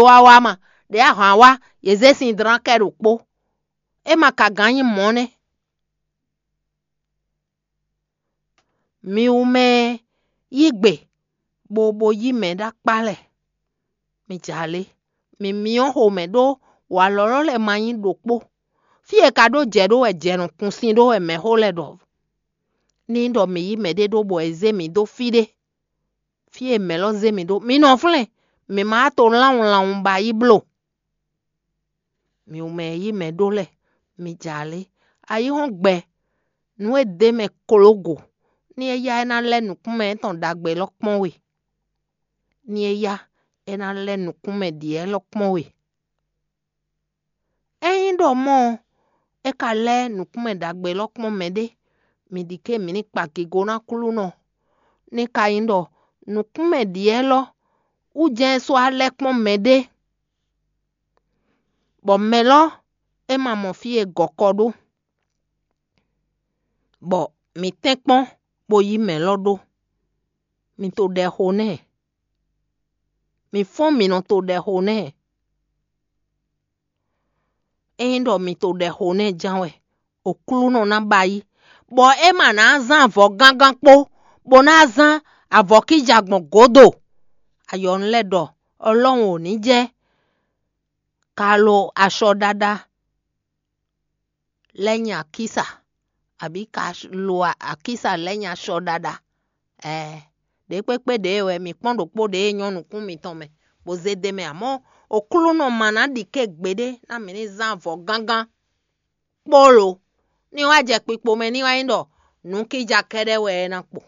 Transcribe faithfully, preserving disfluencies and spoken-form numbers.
Wawa ma, ɖě ahwan wá, yě zé sin dlán kɛ ɖokpó. É ma ka gán nyí mɔ̌ nɛ́. Mi wú mɛ yí gbe, bo bo yí mɛ ɖó akpá lɛ. Mi jɛ alě, mi myɔ xomɛ ɖó walɔ̌lɔ́ lɛ́ɛ ma nyí ɖokpó. Fí e ka ɖó jɛ ɖó wɛ jɛ nɔ kun sin ɖó wɛ mɛxó lɛ́ɛ ɖɔ. Ní ɖɔ mǐ yí mɛɖé ɖó bɔ è zé mǐ dó fí ɖé. Fí e mɛ̌ lɔ zé mǐ ɖó, mi nɔ flɛ́n, mǐ ma wá to lánwun lánwun ba yí bló. Mi wú mɛ yí mɛ ɖó lɛ́ɛ, mi jɛ alě. Ayǐhɔ́ngbe, nǔ e dé mɛ klógo, ní é yá é ná lɛ́ nǔkúnmɛ étɔn ɖagbe élɔ́ kpɔ́n we. Ní é yá é ná lɛ́ nǔkúnmɛ ɖě élɔ́ kpɔ́n we. Ényí ɖɔ mɔ̌ ɔ́, é ka lɛ́ nǔkúnmɛ ɖagbe élɔ́ kpɔ́n mɛɖé, mi ɖi ké mǐ ní kpa gigo ná Aklúnɔ. Ní ka nyí ɖɔ nǔkúnmɛ ɖě élɔ́ wú jɛ́n é sɔ́ wá lɛ́ kpɔ́n mɛɖé, bɔ mɛ lɔ é ma mɔ fí e gɔ̌ kɔ ɖó, bɔ mǐ tɛ́nkpɔ́n bó yí mɛ lɔ ɖó. Mi to ɖɛ xo nɛ́, mi fɔ́n mi nɔ to ɖɛ xo nɛ́. Ényí ɖɔ mi to ɖɛ xo nɛ́ ján wɛ, Aklúnɔ ná ba yí, bɔ é ma ná zán avɔ gángán kpó, bó ná zán avɔ kíja gbɔn gǒdo. Ayɔnu lɛ́ɛ ɖɔ Ɔlɔ́run ò ní jɛ ka lo aṣɔ ɖaɖa lɛ́ nyi akísa, abǐ ka lo akísa lɛ́ nyi aṣɔ ɖaɖa. Ɛɛ, ɖě kpékpé ɖě wɛ mǐ kpɔ́n ɖokpó ɖě e nyɔ́ nukún mitɔn mɛ, bó zé d'é mɛ, amɔ̌ Aklúnɔ ma ná ɖi ké gbeɖé ná mǐ ní zán avɔ gángán kpó lo. Ní wá jɛ kpikpo mɛ ní wá nyí ɖɔ nǔkíja kɛ́ɖɛ́ wɛ é ná kpo.